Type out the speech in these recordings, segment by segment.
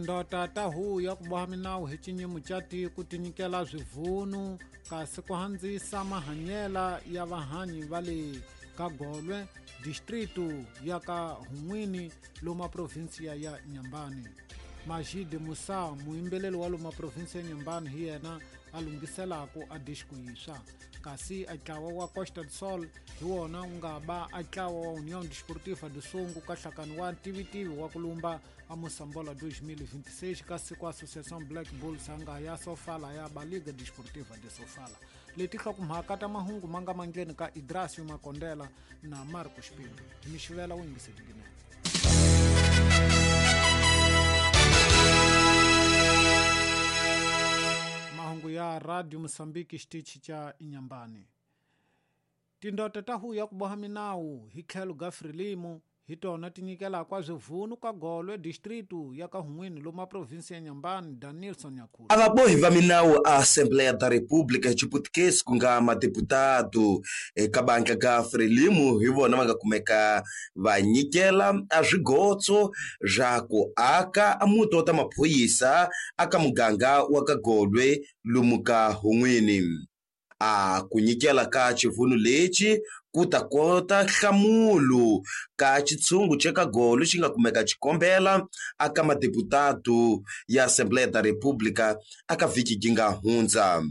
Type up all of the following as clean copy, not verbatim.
Ndota ta huvo ya ku boha minawu hi xinyimo xa tiko ti nyikela swivunu kasi ku handzisa mahanyela ya vahanyi va le ka Golwe, distritu ya ka Hun'wini loma provinsiya ya Inhambane. Majid Musa, muyimbeleri wa loma provinsi ya Inhambane hi yena a lunghiselaku a disco yiswa. Kasi a ntlawa wa Costa do Sol hi wona wu nga ba a ntlawa wa União Desportiva do Songo ka nhlakano wa ntivitivi wa ku lumba a Moçambola 2026 kasi ku Associação Black Bulls a nga ya Sofala ya ba Liga Desportiva de Sofala. Leti hlokomhaka ta mahungu ma nga mandleni ka Idrasio Makondela na Marcos Pinto. Hi mi xivela wu yingisetinginene. Mahungu ya Radio Mozambique xitichi xa Inhambane. Tindota ta huvo ya ku boha minawu hi tlhelo ga Frelimo hi tona ti nyikelaka swivunu ka Golwe distritu ya ka Hun'wini lomu a provinsi ya Inhambane, Danilson Nyakhula. A vabohi va minawu a Assembleia da República hi Xiputukezi ku nga madeputado eka bandla ga Frelimo hi vona va nga kumeka va nyikela a swigotso swa ku aka a muti wa ta maphorisa aka muganga wa ka Golwe lomu ka Hun'wini. A ku nyikela ka xivunu lexi ku ta kota nhlamulo ka xitshungu xa ka Golo xi nga kumeka xikombela aka madeputado ya Assembleia da República aka vhiki yi nga hundza.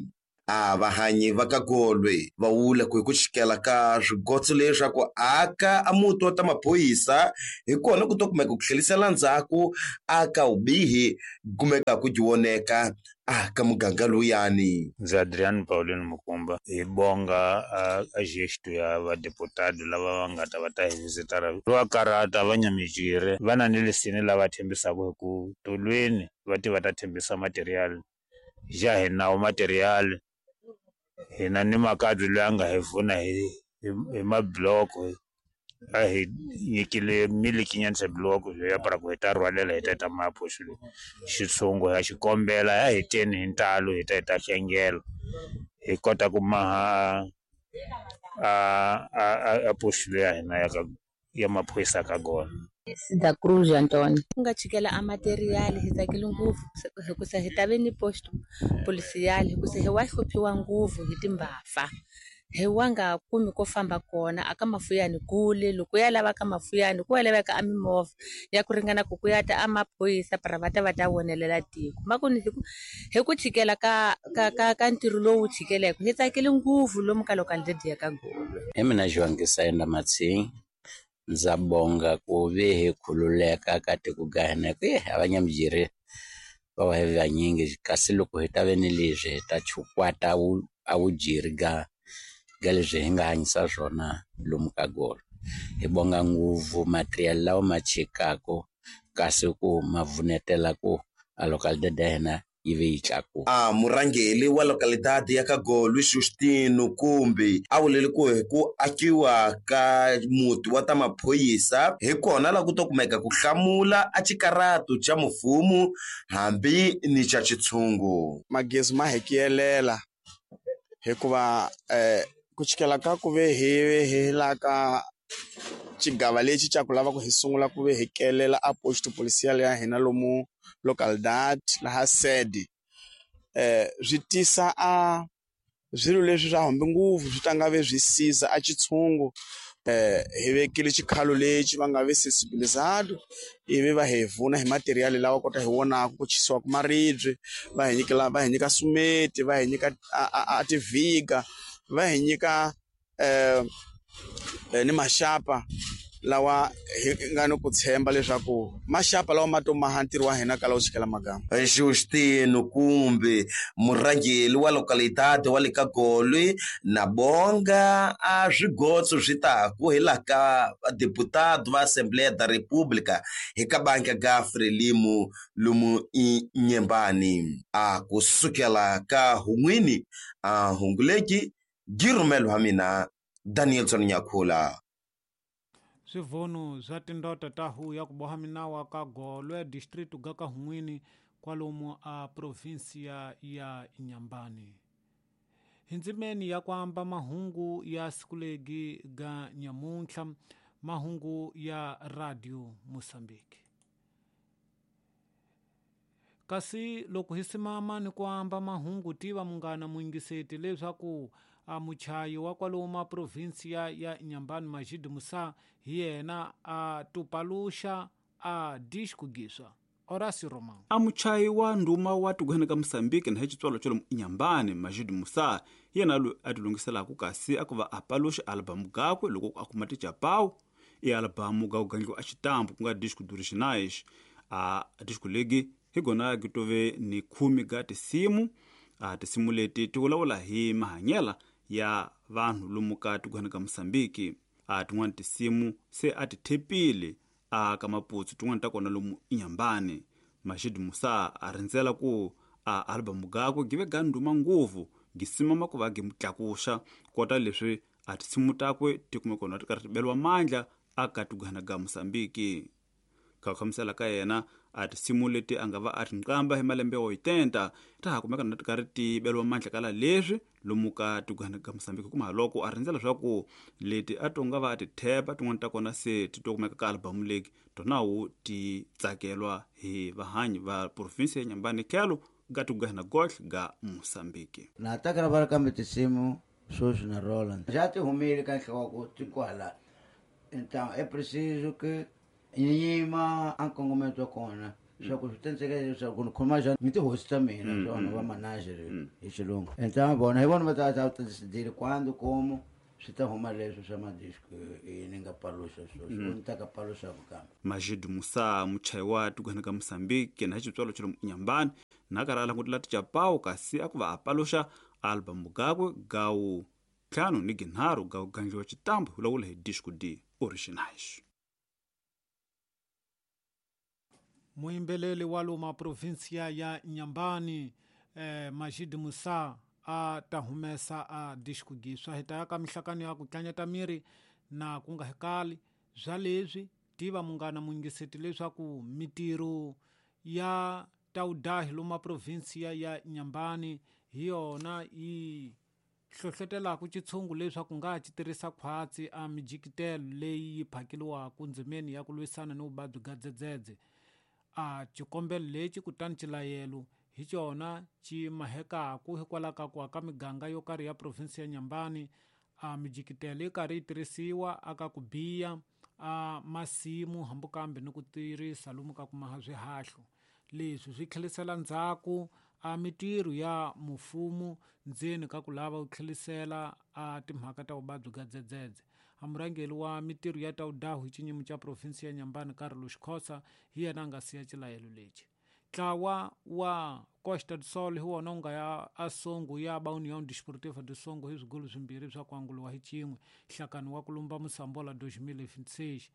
A vahanyi va ka Golwe va vula ku hi ku xikela ka swigotso leswaku aka a muti wa ta maphorisa hi kona ku to kumeka ku tlhelisela ndzhaku aka vubihi kumeka ku voneka a ka muganga lowuyani. Ndzi Adriano Paulino Mukumba hi bonga a gesto ya vadeputado lava va nga ta va ta hi visitara va karata va nyamijire va na ni lesini lava tshembisaka hi ku tolweni va ti va ta tshembisa material ja hi nawo material hina ni makadzi loyi a nga hi pfuna hi mabloko a hi nyikile milikinyana bloko ya para ku hi ta rhwalela hi ta ta mapo xilo xitshungu ya xikombela ya hi teni hi ntalo hi ta hi ta hlengela hi kota ku maha a poxilo ya hina ya ka ya maphorisa ka gona. Da Cruz Antônio. Ku nga chikela a material hi tsakile ngopfu hikusa hi ta ve ni posto policial hikusa hi wa hluphiwa ngopfu hi timbhafa. Hi wa nga kumi ko famba kona aka mafuyani kule loko ya lava ka mafuyani ku ya laveka a mimovha ya ku ringana ku ku ya ta a maphorisa para va ta va ta vonelela tiko makuni hi ku chikela ka ka ka ka ntirho lowu chikeleke hi tsakile ngopfu lomu ka localidade ya ka Golwe. Hi mina Joangisa Enda Matsing ndza bonga ku ve hi khululeka ka tiko ga hina ku a va nyamujeri va wa hi vanyingi kasi loko hi ta ve ni leswi hi ta chukwata a vujeri ga ga leswi hi nga hanyisa swona lomu ka Golo. Hi bonga ngopfu material lawa ma chikaka kasi ku ma vunetela ku a localidade ya hina yi ve yi tlakuka. A murhangeri wa localidade ya ka Golwe Justino Kumbi a vulele ku hi ku akiwa ka muti wa ta maphorisa hi kona la ku to kumeka ku hlamula a xikaratu xa mfumo hambi ni xa xitshungu. Magezi ma hi kiyelela hikuva ku chikela ka ku ve hi hi la ka xigava lexi xa ku lava ku hi sungula ku ve hi kelela a posto policial ya hina lomu localidade laha sede swi tisa a swilo leswi swa hambi ngopfu swi ta nga ve swi siza a xitshungu hi vekile xikhalo lexi va nga ve sensibilizado ivi va hi vuna hi material lawa kota hi vonaka ku chisiwa ku maribye va hi nyikela va hi nyika sumeti va hi nyika a tivhiga va hi nyika ni maxapa lawa hi nga ni ku tshemba leswaku maxapa lawa ma to maha ntirho wa hina kala wu chikela magama. Justino Kumbi murhangeri wa localidade wa le ka Golwe na bonga a swigotso swi taku hi laha ka deputado va Assembleia da República hi ka banka ga Frelimo lomu Inhambane a kusukela ka Hun'wini a hunguleki girumelo wa mina Danielson Nyakhula. Swivunu swa tindota ta huvo ya ku boha minawu ka Golwe district ga ka Hun'wini kwalomu a provinsia ya Inhambane. Hi ndzimeni ya ku amba mahungu ya siku legi ga nyamuntlha mahungu ya Radio Mozambique. Kasi loko hi simama ni ku amba mahungu tiva munghana muyingiseti leswaku a muchayi wa kwalomu provinsia ya Inhambane Majid Musa hi yena a tupaluxa a disco giswa Horacio Romão. A muchayi wa ndhuma wa tikweni ka Mozambique na hi xitswalo xa lomu Inhambane Majid Musa yena loyi a tilunghiselaka kasi a ku va a paluxa album gakwe loko a kuma tijapawu i album ga ku gandliwa a xitambu ku nga disco d'originais a disco legi hi gona gi tove ni 10 ga tisimu a tisimu leti ti vulavula hi mahanyela ya vanhu lomu ka tikweni ka Mozambique a tin'wana tisimu se a ti thepile a ka Maputo tin'wana ta kona lomu Inhambane Majid Musa a rindzela ku a album gakwe give ga ndhuma ngopfu gi simama ku va gi mutlakuxa kota leswi a tisimu takwe ti kume kona ti karhi ti beliwa mandla a ka tigwana ga Mozambique ka khamisela ka yena a tisimu leti a nga va a tinqamba hi malembe yo 80 ta ha kumeka na ti karhi ti beliwa mandla kala leswi lomu ka tigwana ga Mozambique kuma loko a rindzela leswaku leti a to nga va a ti thepa tin'wana ta kona se ti to kumeka ka album legi tonawu ti tsakelwa hi vahanyi va province ya Inhambane khelo ga tigwana gohle ga Mozambique na ta gravar kambe tisimu sweswi na Roland já ti humile ka nhloko ti kwala então é preciso que nyima a nkongometo wa kona swa ku swi tenseka leswaku ni khoma njhani ni tihosi ta mina swona va manager hi xilungu então vona hi vona va ta ta decidile quando como swi ta huma leswi swa madisco ni nga paluxa sweswo ni ta ka paluxaku kambe Majid Musa muchayi wa tikweni ka Mozambique na xitswalo xa lomu Inhambane na karhi a langutela tijapawu kasi a ku va a paluxa album gakwe gawu 5 ni 3 ga ku gandliwa xitambu vulavula hi disco d originais. Muyimbeleli wa luma provinsia ya Inhambane Majid Musa a ta humesa a disco giswa hi ta ya ka mihlakano ya ku tlanyata miri na ku nga hekali bya leswi tiva munghana muyingiseti leswaku mitirho ya taudahi luma provinsia ya Inhambane hi yona yi hlohlotelaka xitshungu leswaku nga ci tirhisa khwatsi a mijikitelo leyi yi phakeliwaka ndzimeni ya ku lwisana ni vuvabyi bya dzedzedze a xikombelo lexi kutani xilayelo hi xona xi mahekaku hikwalaho ka ku aka miganga yo karhi ya provinsi ya Inhambane a mijikitelo yi karhi yi tirhisiwa aka ku biya a masimu hambi kambe ni ku tirhisa lomu ka ku maha swihahlo leswi swi tlhelisela ndzhaku a mitirho ya mufumo ndzeni ka ku lava ku tlhelisela a timhaka ta vuvabyi bya dzedzedze a murhangeri wa mitirho ya taudahu hi xinyimo xa provinsi ya Inhambane Carlos Khosa hi yena a nga siya xilayelo lexi ntlawa wa Costa do Sol hi wona wu nga ya a Songo ya ba União Desportiva do Songo hi swigolo swimbirhi swa ku anguliwa hi xin'we nhlakano wa ku lumba Mosambola 2026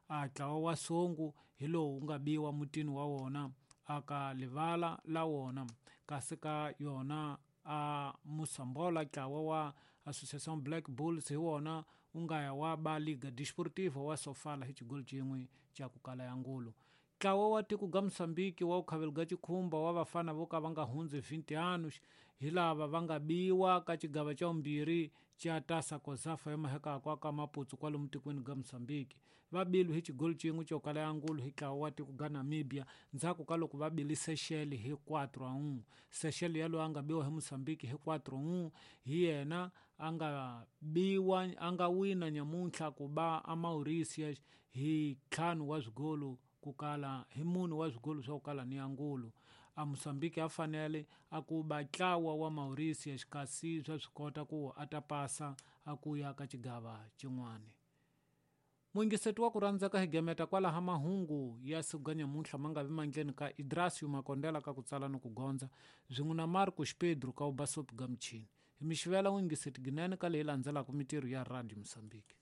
a ntlawa wa Songo hi lowu wu nga biwa mutini wa wona aka livala la wona kasi ka yona a Mosambola ntlawa wa Associação Black Bulls hi wona wu nga ya wa ba Liga Desportiva wa Sofala hi xigolo xin'we xa ku kala ya ngulu ntlawa wa tiko ga Mozambique wa ku khavela ga xikhumba wa vafana vo ka va nga hundzi 20 anos hi lava va nga biwa ka xigava xa vumbirhi xa Taça Cosafa ya mahekako ka Maputo kwalomu tikweni ga Mozambique va bilwe hi xigolo xin'we xo kala ya ngulu hi ntlawa wa tiko ga Namibia ndzhaku ka loko va bile Seychelles hi 4-1 Seychelles yaloye a nga biwa hi Mozambique hi 4-1 hi yena a nga biwa a nga wina nyamuntlha ku ba a Mauritius hi 5 wa swigolo ku kala hi munhu wa swigolo swa ku kala ni angulu a Mozambique a fanele a ku ba ntlawa wa Mauritius kasi swa swi kota ku a ta pasa a ku ya ka xigava xin'wana muyingiseti wa ku rhandzeka hi gemeta kwalaha mahungu ya siku ga nyamuntlha ma nga vi mandleni ka Idrasio Makondela ka ku tsala ni ku gondza swin'we na Marcos Pedro ka ubasopi ga michini hi mixivela muyingiseti ginene ka leyi landzelaka mitirho ya Radio Mozambique.